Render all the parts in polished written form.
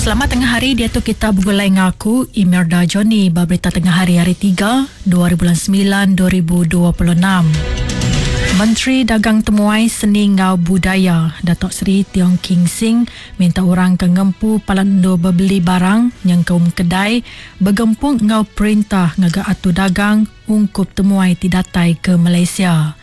Selamat tengah hari diatu kita begulai enggau aku Imelda Johnny ba berita tengah hari hari 3 2 bulan 9 2026. Menteri Dagang Temuai Seni enggau Budaya Datuk Seri Tiong King Sing minta orang ke ngempu palan endur bebeli barang nyengkaum kedai begempung enggau perintah ngaga atur dagang ungkup temuai ti datai ke Malaysia.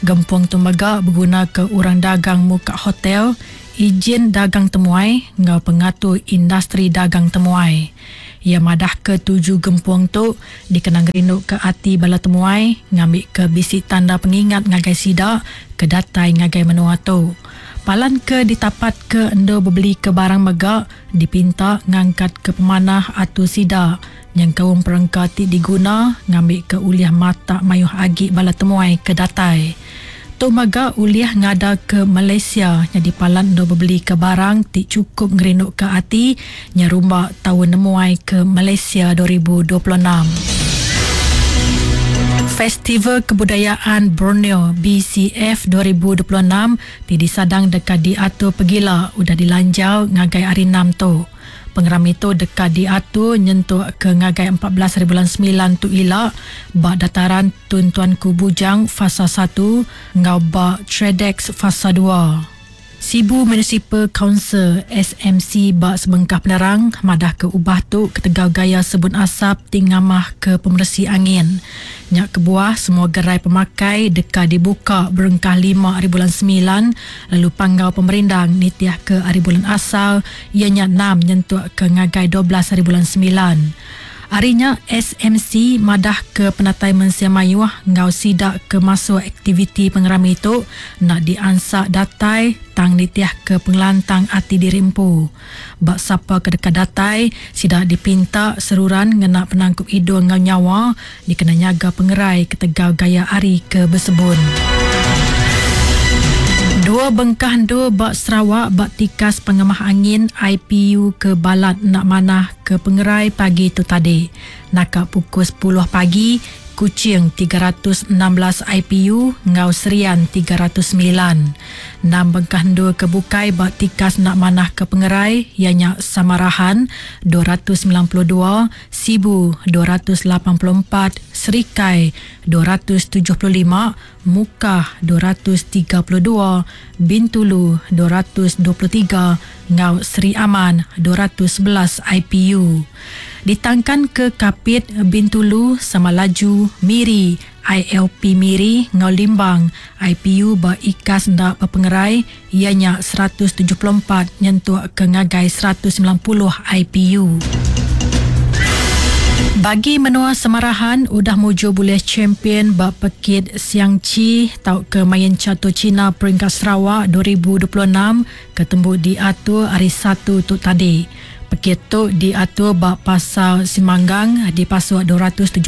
Gempung tu mega begunaka orang dagang muka hotel, ijin dagang temuai enggau pengatur industri dagang temuai. Iya madahka tuju gempung tu dikena ngerinduka ati bala temuai ngambika bisi tanda pengingat ngagai sida ke datai ngagai menua tu. Palan ke ditapatka endur bebelika barang mega dipinta ngangkatka pemanah atur sida nyengkaum perengka ti diguna ngambika ulih matak mayuh agi bala temuai ke datai. Tu mega ulih ngadaka Malaysia nyadi palan endur bebelika barang ti chukup ngerinduka ati nyerumba Taun Nemuai ke Malaysia 2026. Festival Kebudayaan Borneo, BCF, 2026 ti disadang deka diatur pegila udah dilanjar ngagai Hari Enam tu. Pengerami tu deka diatur nyentuk ke ngagai 14 haribulan semilan tu ila ba Dataran Tun Tuanku Bujang Fasa satu enggau ba Tradex Fasa dua. Sibu Municipal Council, SMC, ba sebengkah penerang madahka ubah tu ketegal gaya sebun asap ti ngamahka pemeresi angin. Nya kebuah semua gerai pemakai deka dibuka berengkah lima ari bulan semilan lalu panggau pemerindang nitihka ari bulan asal iya nya enam nyentuk ke ngagai 12 ari bulan semilan. Ari nya SMC madahka penatai mensia mayuh enggau sida ke masuk aktiviti pengerami tu enda diansak datai tang nitihka pengelantang ati diri empu. Ba sapa ke deka datai, sida dipinta seruran ngena penangkup idung enggau nyawa dikena nyaga pengerai ketegal gaya hari ke besebun. Dua bengkah endur ba Sarawak ba tikas pengemah angin IPU ke balat enda manah ke pengerai pagi tu tadi. Naka pukul sepuluh pagi, Kuching 316 IPU enggau Serian 309. Enam bengkah endur ke bukai ba tikas enda manah ke pengerai iya nya Samarahan, 292, Sibu, 284, Serikai, 275, Mukah, 232, Bintulu, 223, enggau Sri Aman, 211 IPU. Ditangkan ke Kapit, Bintulu, Samalaju, Miri, ILP Miri enggau Limbang, IPU ba ikas enda bepengerai iya nya 174 nyentuk ke ngagai 190 IPU. Bagi menua Samarahan udah mujur bulih champion ba pekit Siang Chi tauka Main Catur China Peringkat Sarawak 2026 ke tembu diatur hari Satu tu tadi. Pekit tu diatur ba Pasar Simanggang dipasuk 271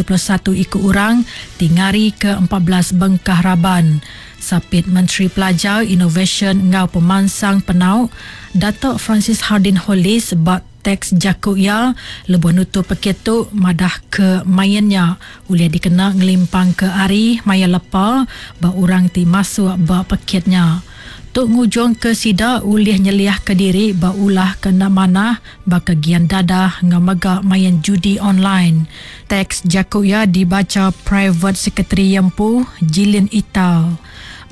iku orang ti ngarika 14 bengkah raban. Sapit Menteri Pelajar, Inovasyen enggau Pemansang Penau, Datuk Francis Hardin Hollis ba teks jaku iya lebuh nutup pekit tu madahka main nya ulih dikena ngelimpangka ari maya lepa ba orang ti masuk ba pekit nya. Tu ngujungka sida ulih nyeliahka diri ba ulah ke enda manah baka gian dadah enggau mega main judi online. Teks jaku iya dibacha Private Secretary iya empu, Jilin Ital.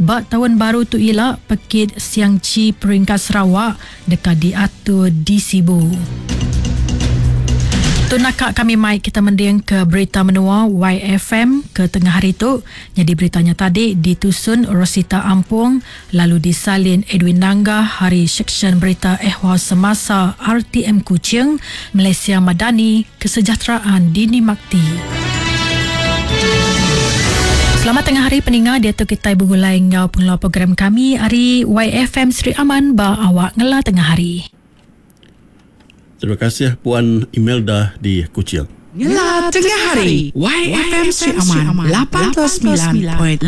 Ba taun baru tu ila, pekit Siang Chi Peringkat Sarawak deka diatur di Sibu. Tu naka kami mai kita mendingka berita menua YFM ke tengah hari tu. Nyadi berita nya tadi ditusun Rosita Ampung lalu disalin Edwin Nangga hari Seksyen Berita Ehwal Semasa RTM Kuching, Malaysia Madani, Kesejahteraan Dini Makti. Selamat tengah hari peninga diatu kitai begulai enggau pengeluar program kami ari YFM Sri Aman ba awak ngela tengah hari. Terima kasih Puan Imelda di Kuching. Ngela tengah hari YFM Sri Aman 89.5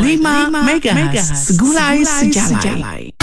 MHz segulai sejalai.